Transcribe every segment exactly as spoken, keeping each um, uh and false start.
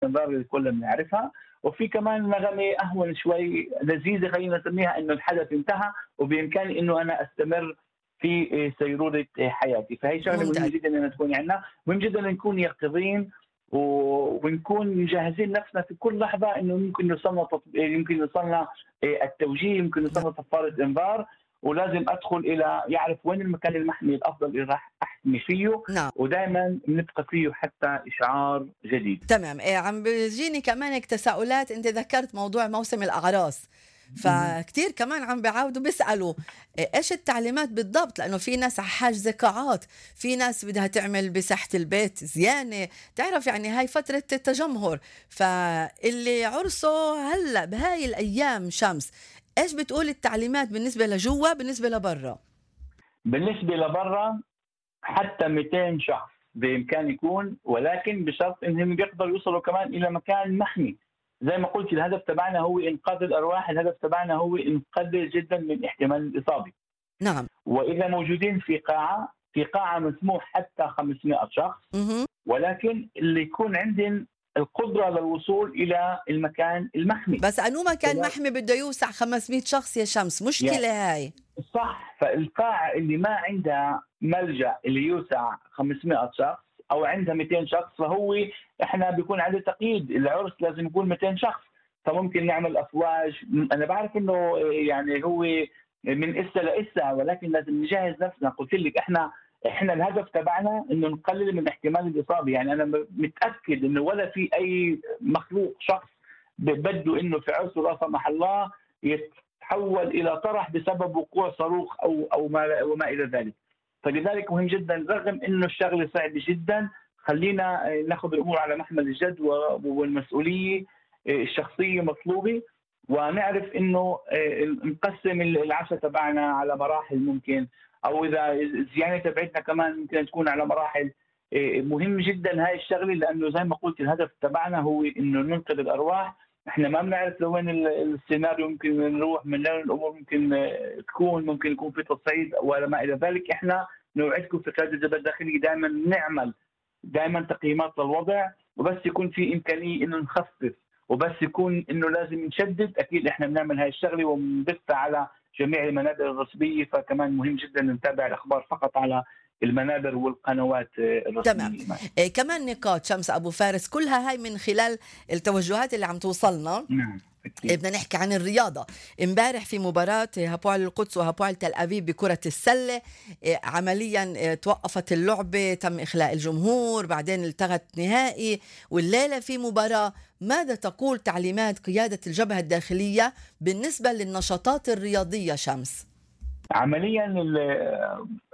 الانذار اللي كلنا بنعرفها، وفي كمان نغمه اهون شوي لذيذه خلينا نسميها انه الحدث انتهى وبامكاني انه انا استمر في سيروره حياتي، فهي شغله مهمه ممتاز. جدا انها تكون عندنا، مهم جدا نكون يقظين ونكون مجهزين نفسنا في كل لحظه انه يمكن يوصلنا تطب... يمكن يوصلنا التوجيه، يمكن نعم. يوصلنا صفاره انذار، ولازم ادخل الى يعرف وين المكان المحمي الافضل اللي راح احمي فيه، نعم. ودائما بنبقى فيه حتى اشعار جديد. تمام. إيه عم بيجيني كمان هيك تساؤلات، انت ذكرت موضوع موسم الاعراس، مهم. فكتير كمان عم بيعاودوا بيسألوا إيه ايش التعليمات بالضبط، لانه في ناس حاجزة قاعات، في ناس بدها تعمل بساحة البيت زيانة، تعرف يعني هاي فترة التجمهر، فاللي عرسه هلا بهاي الايام شمس، ايش بتقول التعليمات بالنسبة لجوا بالنسبة لبرا؟ بالنسبه لبرا حتى مئتين شخص بامكان يكون، ولكن بشرط انهم بيقدروا يوصلوا كمان الى مكان محمي. زي ما قلت الهدف تبعنا هو انقاذ الارواح، الهدف تبعنا هو نقلل جدا من احتمال الاصابه. نعم. واذا موجودين في قاعه، في قاعه مسموح حتى خمسمئة شخص، اها. ولكن اللي يكون عندهم القدره للوصول الى المكان المحمي. بس انو مكان محمي بده يوسع خمسمية شخص يا شمس، يعني مشكلة هاي. صح، فالقاعة اللي ما عندها ملجأ اللي يوسع خمسمئة شخص أو عندها مئتين شخص، فهو إحنا بيكون عليه تقييد، العرس لازم يكون مئتين شخص، فممكن نعمل أفواج. أنا بعرف إنه يعني هو من إسا لإسا، ولكن لازم نجهز نفسنا. قلت لك إحنا إحنا الهدف تبعنا إنه نقلل من احتمال الإصابة. يعني أنا متأكد إنه ولا في أي مخلوق شخص بده إنه في عرسه لا سمح الله يت تحول الى طرح بسبب وقوع صاروخ او او ما وما الى ذلك. فلذلك مهم جدا رغم انه الشغله صعبه جدا، خلينا ناخذ الامور على محمل الجد والمسؤوليه الشخصيه مطلوبه، ونعرف انه نقسم العشاء تبعنا على مراحل ممكن، او اذا الزيانه تبعتنا كمان ممكن تكون على مراحل. مهم جدا هاي الشغله، لانه زي ما قلت الهدف تبعنا هو انه ننقذ الارواح. احنا ما بنعرف لوين السيناريو ممكن نروح، من وين الامور ممكن تكون، ممكن يكون في تصعيد ولا ما الى ذلك. احنا نوعدكم في قياده الجبهه الداخليه دائما نعمل دائما تقييمات للوضع، وبس يكون في امكانيه انه نخفف، وبس يكون انه لازم نشدد، اكيد احنا بنعمل هاي الشغله وبنبثها على جميع المنابر الرسميه. فكمان مهم جدا نتابع الاخبار فقط على المنابر والقنوات تمام. الرسميه. إيه كمان نقاط شمس ابو فارس كلها هاي من خلال التوجهات اللي عم توصلنا. نعم إيه أكيد. بدنا نحكي عن الرياضة. امبارح في مباراة هابوال القدس وهابوال تل أبيب بكرة السلة، إيه عمليا إيه توقفت اللعبة، تم إخلاء الجمهور، بعدين التغت نهائي، والليلة في مباراة. ماذا تقول تعليمات قيادة الجبهة الداخلية بالنسبة للنشاطات الرياضية شمس؟ عمليا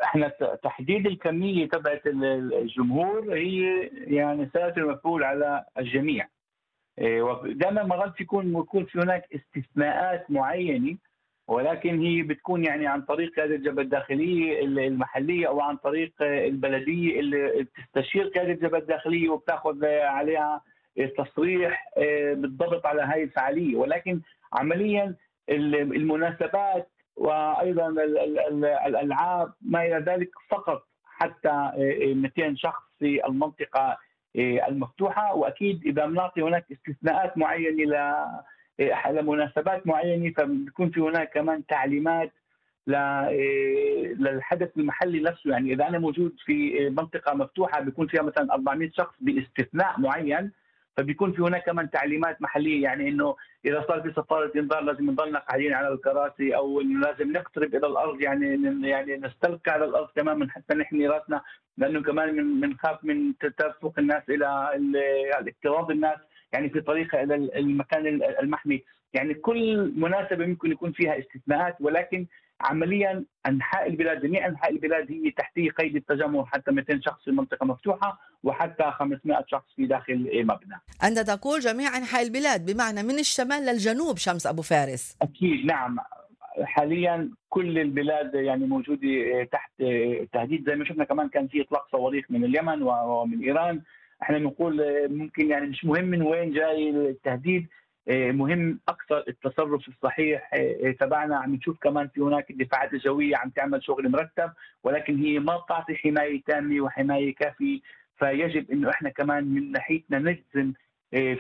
احنا تحديد الكميه تبعت الجمهور هي يعني سيأتي مفعول على الجميع. دائما مرات يكون يكون في هناك استثناءات معينه، ولكن هي بتكون يعني عن طريق قياده الجبهه الداخليه المحليه او عن طريق البلديه اللي بتستشير قياده الجبهه الداخليه وبتاخذ عليها تصريح بالضبط على هاي الفعاليه. ولكن عمليا المناسبات وايضا الالعاب ما الى ذلك فقط حتى مئتين شخص في المنطقه المفتوحه. واكيد اذا بنعطي هناك استثناءات معينه لمناسبات معينه، فبيكون في هناك كمان تعليمات للحدث المحلي نفسه. يعني اذا انا موجود في منطقه مفتوحه بيكون فيها مثلا أربعمئة شخص باستثناء معين، فبيكون في هناك كمان تعليمات محليه، يعني انه اذا صار في صفاره انذار لازم نضلنا قاعدين على الكراسي، او انه لازم نقترب الى الارض، يعني يعني نستلقى على الارض تماما حتى نحمي راسنا، لانه كمان من بنخاف من تدفق الناس الى الاكتراض الناس يعني في طريقها الى المكان المحمي. يعني كل مناسبه ممكن يكون فيها استثناءات، ولكن عمليا انحاء البلاد جميع انحاء البلاد هي تحت قيد التجمهر، حتى مئتين شخص في منطقه مفتوحه وحتى خمسمئة شخص في داخل مبنى. أنت تقول جميع أنحاء البلاد، بمعنى من الشمال للجنوب شمس أبو فارس؟ اكيد نعم. حاليا كل البلاد يعني موجوده تحت تهديد. زي ما شفنا كمان كان في اطلاق صواريخ من اليمن ومن ايران. احنا بنقول ممكن يعني مش مهم من وين جاي التهديد، مهم اكثر التصرف الصحيح تبعنا. عم نشوف كمان في هناك الدفاعات الجويه عم تعمل شغل مرتب، ولكن هي ما بتعطي حمايه تامه وحمايه كافيه. فيجب انه احنا كمان من ناحيتنا نجزم إيه،